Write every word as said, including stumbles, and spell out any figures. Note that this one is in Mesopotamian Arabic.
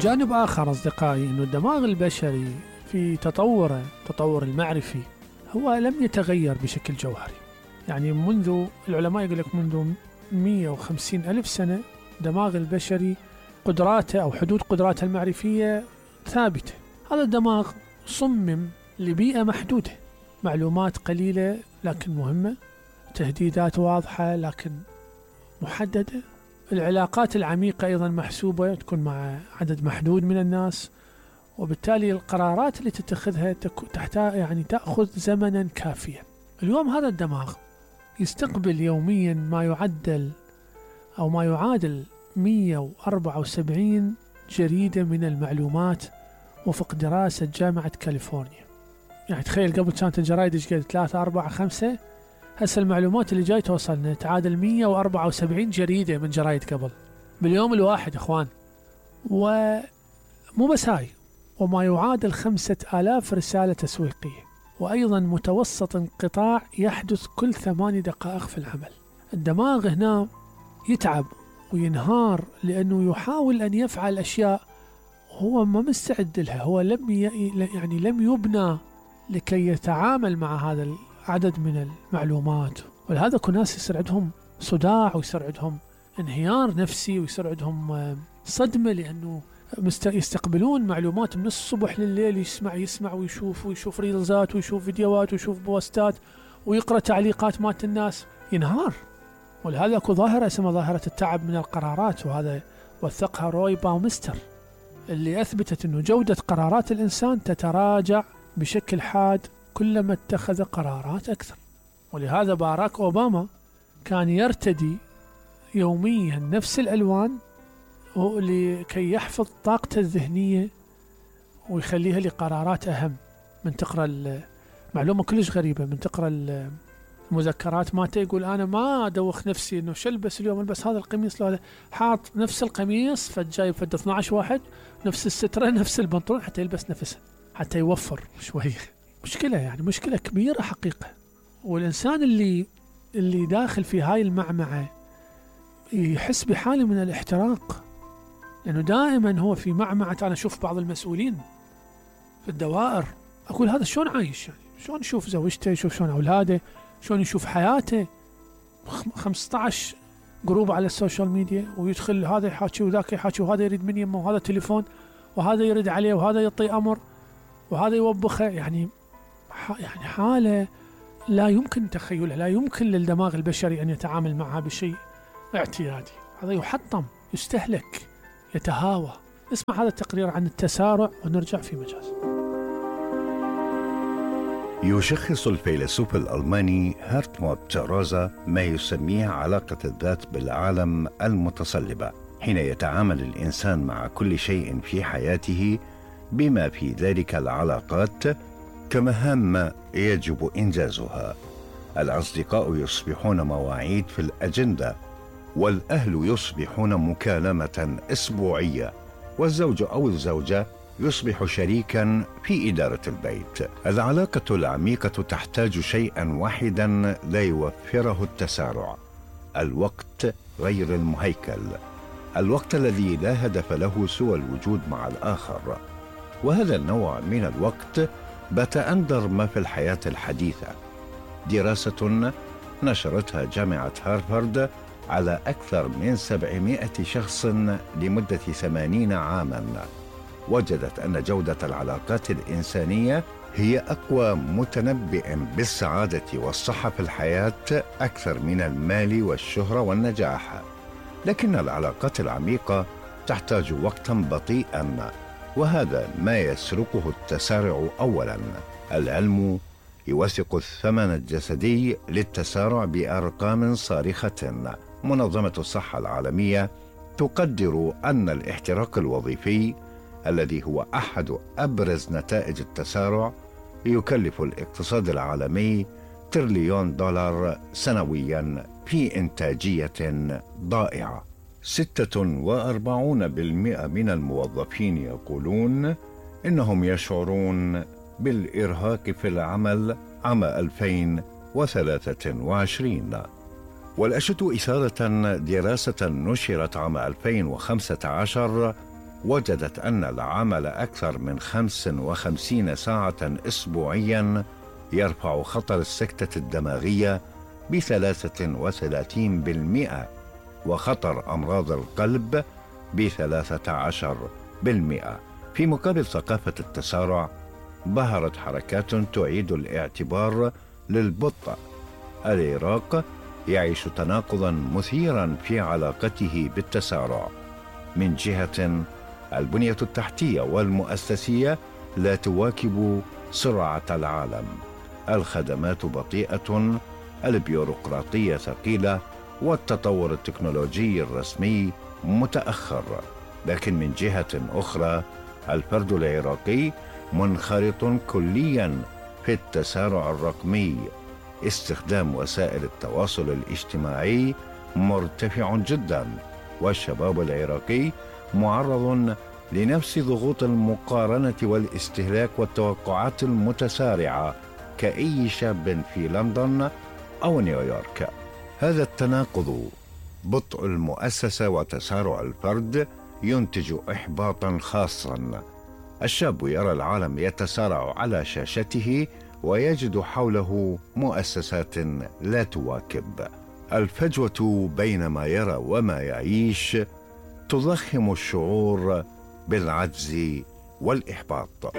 جانب آخر أصدقائي أنه الدماغ البشري في تطوره تطور المعرفي هو لم يتغير بشكل جوهري. يعني منذ العلماء يقول لك منذ مئة وخمسين ألف سنة دماغ البشري قدراته أو حدود قدراته المعرفية ثابتة. هذا الدماغ صمم لبيئة محدودة، معلومات قليلة لكن مهمة، تهديدات واضحة لكن محددة، العلاقات العميقة أيضا محسوبة تكون مع عدد محدود من الناس، وبالتالي القرارات اللي تتخذها تحتاج يعني تأخذ زمنا كافيا. اليوم هذا الدماغ يستقبل يوميا ما يعدل أو ما يعادل مئة وأربعة وسبعين جريدة من المعلومات وفق دراسة جامعة كاليفورنيا. يعني تخيل قبل كانت الجرائد ايش قد ثلاثة أربعة خمسة، هسه المعلومات اللي جاي توصلنا تعادل مئة وأربعة وسبعين جريدة من جرائد قبل باليوم الواحد اخوان. ومو بس هاي، وما يعادل خمسة آلاف رسالة تسويقية، وأيضا متوسط انقطاع يحدث كل ثماني دقائق في العمل. الدماغ هنا يتعب وينهار لأنه يحاول أن يفعل أشياء هو ما مستعد لها، هو لم يعني لم يبنى لكي يتعامل مع هذا العدد من المعلومات. ولهذا كل ناس يصير عندهم صداع ويصير عندهم انهيار نفسي ويصير عندهم صدمة، لأنه يستقبلون معلومات من الصبح لليل، يسمع يسمع ويشوف ويشوف ريلزات ويشوف فيديوهات ويشوف بوستات ويقرأ تعليقات مات الناس، ينهار. ولهذا اكو ظاهرة اسمها ظاهرة التعب من القرارات، وهذا وثقها روي باومستر اللي أثبتت أنه جودة قرارات الإنسان تتراجع بشكل حاد كلما اتخذ قرارات أكثر. ولهذا باراك أوباما كان يرتدي يوميا نفس الألوان لكي يحفظ طاقته الذهنية ويخليها لقرارات أهم من تقرأ المعلومة كلش غريبة، من تقرأ المذكرات مالته يقول أنا ما أدوخ نفسي إنه شلبس اليوم، البس هذا القميص لو هذا، حاط نفس القميص فجايب فد اثني عشر واحد، نفس السترة نفس البنطلون حتى يلبس نفسه حتى يوفر شوي. مشكلة يعني مشكلة كبيرة حقيقة. والإنسان اللي اللي داخل في هاي المعمعة يحس بحالة من الاحتراق، لأنه دائما هو في معمعة. أنا أشوف بعض المسؤولين في الدوائر أقول هذا شلون عايش، يعني شلون يشوف زوجته، يشوف شلون أولاده، شلون يشوف حياته. خمسة عشر جروب على السوشيال ميديا ويدخل هذا يحاكي وذاك يحاكي، وهذا يريد من يمه وهذا تليفون وهذا يرد عليه وهذا يعطي أمر وهذا يوبخه. يعني يعني حالة لا يمكن تخيلها، لا يمكن للدماغ البشري أن يتعامل معها بشيء اعتيادي. هذا يحطم، يستهلك، يتهاوى. اسمع هذا التقرير عن التسارع ونرجع في مجاز. يشخص الفيلسوف الألماني هارتموت روزا ما يسميه علاقة الذات بالعالم المتصلبة، حين يتعامل الإنسان مع كل شيء في حياته بما في ذلك العلاقات كمهام يجب إنجازها. الأصدقاء يصبحون مواعيد في الأجندة، والأهل يصبحون مكالمة أسبوعية، والزوج أو الزوجة يصبح شريكا في إدارة البيت. العلاقة العميقة تحتاج شيئا واحدا لا يوفره التسارع: الوقت غير المهيكل، الوقت الذي لا هدف له سوى الوجود مع الآخر. وهذا النوع من الوقت بات أندر ما في الحياة الحديثة. دراسة نشرتها جامعة هارفارد على أكثر من سبعمائة شخص لمدة ثمانين عاما وجدت أن جودة العلاقات الإنسانية هي أقوى متنبئ بالسعادة والصحة في الحياة أكثر من المال والشهرة والنجاح. لكن العلاقات العميقة تحتاج وقتا بطيئا، وهذا ما يسرقه التسارع. أولا، العلم يوثق الثمن الجسدي للتسارع بأرقام صارخة. منظمة الصحة العالمية تقدر أن الاحتراق الوظيفي الذي هو أحد أبرز نتائج التسارع يكلف الاقتصاد العالمي تريليون دولار سنويا في إنتاجية ضائعة. ستة وأربعون بالمئة من الموظفين يقولون إنهم يشعرون بالإرهاق في العمل عام ألفين وثلاثة وعشرين. والأشد إثارة دراسة نشرت عام ألفين وخمسة عشر وجدت أن العمل أكثر من خمس وخمسين ساعة أسبوعيا يرفع خطر السكتة الدماغية بثلاثة وثلاثين بالمئة وخطر أمراض القلب بثلاثة عشر بالمئة. في مقابل ثقافة التسارع، ظهرت حركات تعيد الاعتبار للبطء. العراق يعيش تناقضا مثيرا في علاقته بالتسارع. من جهة، البنية التحتية والمؤسسية لا تواكب سرعة العالم، الخدمات بطيئة، البيروقراطية ثقيلة، والتطور التكنولوجي الرسمي متأخر. لكن من جهة أخرى، الفرد العراقي منخرط كليا في التسارع الرقمي. استخدام وسائل التواصل الاجتماعي مرتفع جدا، والشباب العراقي معرض لنفس ضغوط المقارنة والاستهلاك والتوقعات المتسارعة كأي شاب في لندن أو نيويورك. هذا التناقض، بطء المؤسسة وتسارع الفرد، ينتج إحباطا خاصا. الشاب يرى العالم يتسارع على شاشته ويجد حوله مؤسسات لا تواكب. الفجوة بين ما يرى وما يعيش تضخم الشعور بالعجز والإحباط.